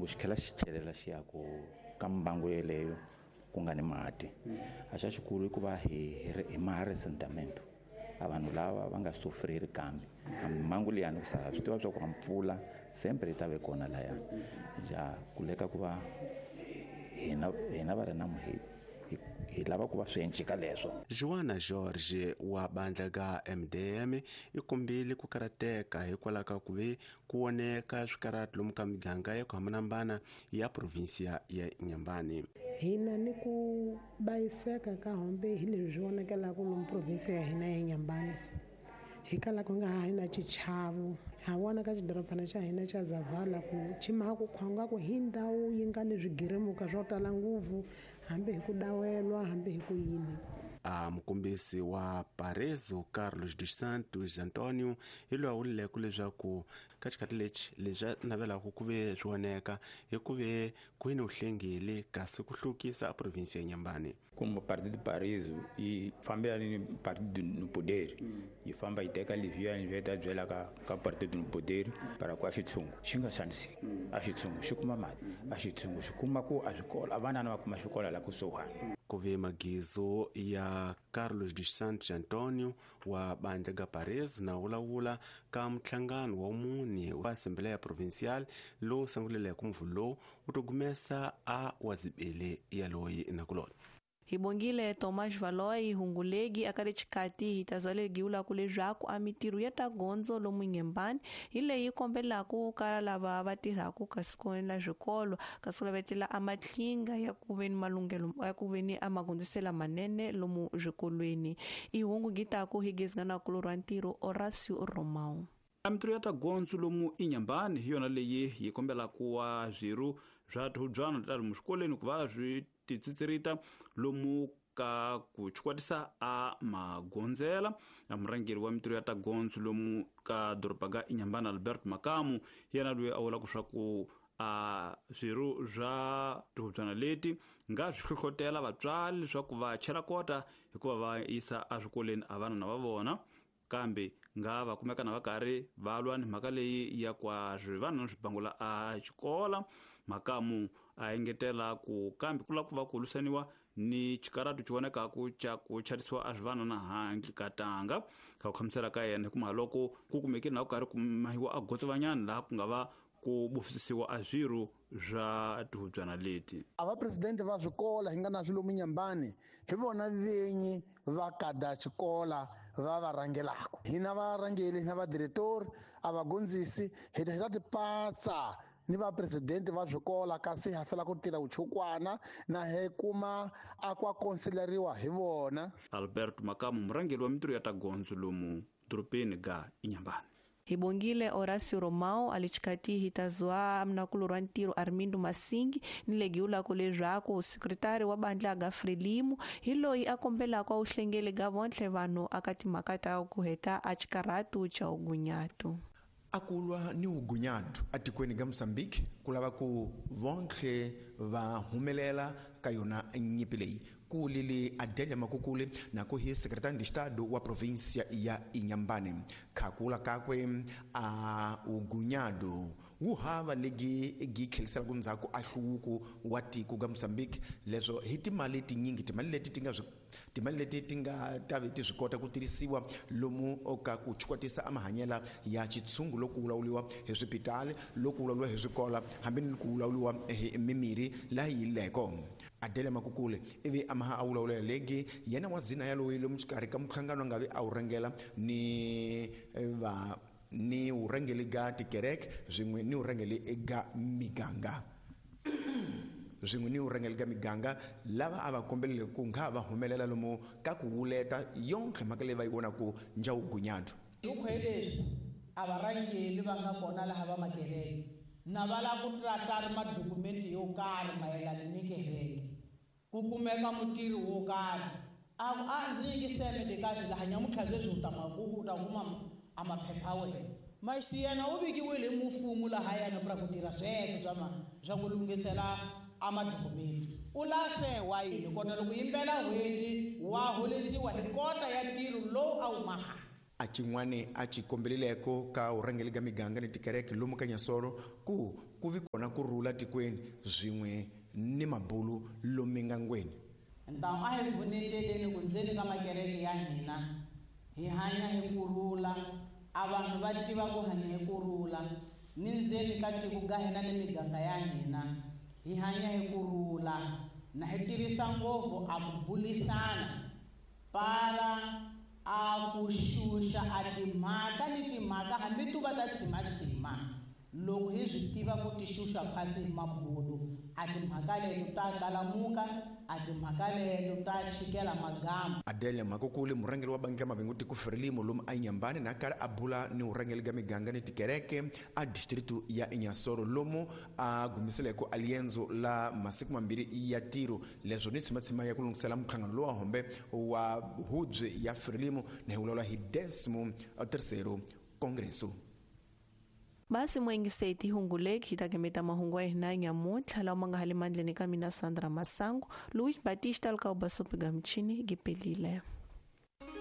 Loko xi tlhela xi chelela xi ya ku ka mbangu yeleyo ku nga ni mati. A xa xikulu i ku va hi maha resentiment. A vanhu lava va nga sufreri kambe a mbangu liyani ku sala swi tiva swa ku mpfula sempre yi ta ve kona laya. Ja kuleka ku va hina va ri na hi lava ku va swi encika leswo. Joana George wa bandla ga MDM i kombile ku karateka hikwalaho ka ku ve ku voneka swikarati lomu ka miganga ya ku hambanahambana ya provinsia ya Inhambane. Hina ni ku bayiseka ka hombe hi leswi swi vonekelaka lomu provinsia ya hina ya Inhambane. Hi kala ku nga ha hi na xichavo. Ha vona ka xidorobana xa hina xa Zavala ku chima ku khonga ku hi ndhawu yi nga ni swigirimuka swo tala ngopfu, hambi hi ku dawelwa, hambi hi ku yini. A mukombisi wa Parezo Carlos dos Santos Antonio hi loyi a vuleke leswaku ka xikhathi lexi leswi a navelaka ku ve swi voneka hi ku ve ku ni uhlengile kasi ku hlukisa a provinsi ya Inhambane. Como Partido Parezo yi fambelana ni Partido no Poder, yi famba yi teka leswiyani swi ta byela ka Partido no Poder para ku a xitshungu xi nga xaniseki, a xitshungu xi kuma mati, a xitshungu xi kuma ku a swikolo, a vanana va kuma xikolo la kusuhani. Ku ve magizo ya Carlos dos Santos Antonio wa bandla ga Parezo na vulavula ka nhlangano wa mune wa Assembleia Provincial lowu sunguleleke mvulo lowu wu to gumesa a wazibele ya loyi nakulona. Hi bongile Tomás Valoi Hungulegi akale xikati hi ta zwalegiwula ku leswaku a mitirho ya ta gondzo lomu Inhambane hi leyi kombelaka ka lava va tirhaka kasi ku la swikolo kasi ku lavetela a matlhinga ya ku ve ni malunghelo ya ku ve ni a magondzisela manene lomu swikolweni. I hungu gitaku hi gezingana kulu ra ntirho Horacio Romão. A mitirho ya ta gondzo lomu Inhambane hi yona leyi yi kombelaka wa swirho swa tihubyana ta lomu swikolweni ku va swi titsitsirita lomu ka ku chikwatisa a magondzela. A murhangeri wa mitirho ya ta gondzo lomu ka doroba ga Inhambane Albert Makamu yena loyi a vulaka swa ku a swirho swa tihubyana leti nga swi hlohlotela vatswari leswaku va chela kota hikuva va yisa eswikolweni a vanana va vona, kambe nga va kumeka na va karhi va lwa ni mhaka leyi ya kwa swivanana swi bangula a xikola. Makamu a engetela ku kambe ku lava ku va ku lwisaniwa ni xikaratu xi vonekaku xa ku chatisiwa a swivanana handle ka tanga. Ka ku khamisela ka yena hikuva loko ku kumekile na ku karhi ku mahiwa a gotsovanyana laha ku nga va ku bufisisiwa a swirho swa tihubyana leti. A va presidente va swikola hi nga na swilo Inhambane hi vona venyi va kada xikola va va rhangelaka. Hina varhangeli na vadiretori a va gondzisi hi ta hi ta tipatsa ni va presidente va swikola kasi ha fela ku tirha vuchukwana na hi kuma a kwa konsileriwa hi vona. Albert Makamu murhangeri wa mitirho ya ta gondzo lomu dorobeni ga Inhambane. Hi bongile Horacio Romão alichikati hitazwa mnakulu ra ntirho Armindo Masingi ni legiwulako leswaku sekretari wa bandla ga Frelimo hi loyi a kombelaka u hlengele ga vontlhe vanhu aka timhaka ta ku heta a xikaratu xa ugunyatu. A kulwa ni ugunyatu atikweni ga Mozambique ku lava ku vontlhe va humelela ka yona nyipi leyi. Ku lili Adélia Makukule na ku hi secretário de Estado wa província ya Inhambane. Khakula kakwe a ugunyado wu hava legi gi tlhelisela ndzhaku a hluvuko wa tiko ga Mozambique leswo hi timali tinyingi, timali leti ti nga swi timali leti ti nga ta ve ti swi kota ku tirhisiwa lomu ka ku chikwatisa a mahanyela ya xitshungu loko ku vulavuriwa hi swipitali, loko ku vulavuriwa hi swikola, hambi ni ku vulavuriwa hi mimirhi laha yi leko. Adélia Makukule ivi a maha a vulavula legi yena wa zina ya loyi lomu xikarhi ka muhlangano a nga vi a wu rhangela ni va ni vurhangeri ga tikereke swin'we ni vurhangeri ga miganga. Swin'we ni vurhangeri ga miganga lava a va kombelele ku nga va humelela lomu ka ku wuleta yonke mhaka leyi va yi vonaku njawugunyadu. Hi leswi a varhangeri va nga kona laha va makereke na va lava ku tata madokumenti yo karhi mayelana ni kereke ku kumeka mutirhi wo karhi a ndzi nyikisele lekahle laha nyamutlha sweswi u ta makuku u ta kuma a maphepha wena maxi yena u vikiwile hi mufumo laha yena pra ku tirha sweswo swa ku lunghisela a madokumenti u lase wa yini kota loko yimbela n'hweti wa holeriwa hi kota ya ntirho lowu a wu maha. A xin'wani a xi kombeleleko ka vurhangeri ka miganga ni tikereke lomu ka Nyasoro ku ku vi kona ku rhula tikweni swin'we ni mabulu lomu mingangweni. Então a hi pfuneteleni ku ndzeni ka makereke ya hina hi hanya hi kurhula, a vanhu va tiva ku hanya hi kurhula, ni ndzeni ka tiko ga hina ni miganga ya hina hi hanya hi kurhula, na hi tirhisa ngopfu a ku bulisana para a ku xuxa a timhaka ni timhaka hambi tu va ta tshimatshima. Loko hi swi tiva ku ti xuxa phasi hi mabulu, a timhaka leto ta kalamuka, a timhaka leto ta chikela magama. Adelia Makukuli, murhangeri wa bandla Mavengo tiko Frelimo lomu a Inhambane, na karhi a bula ni vurhangeri ka miganga ni tikereke a distritu ya Inhassoro lomu a gumiseleko a liendzo la masiku mambirhi ya tiro leswo ni tshimatshima ya ku lunghisela mhlangano lowa hombe wa hubye ya Frelimo na hi vulavula hi 13º Congresso. Basi mwengiseti hunguleki hi ta kemeta mahungu ya hina nyamuntlha lawa ma nga hali mandleni ka mina Sandra Masangu, Luis Batista lika ubasopiga mchini gipelile.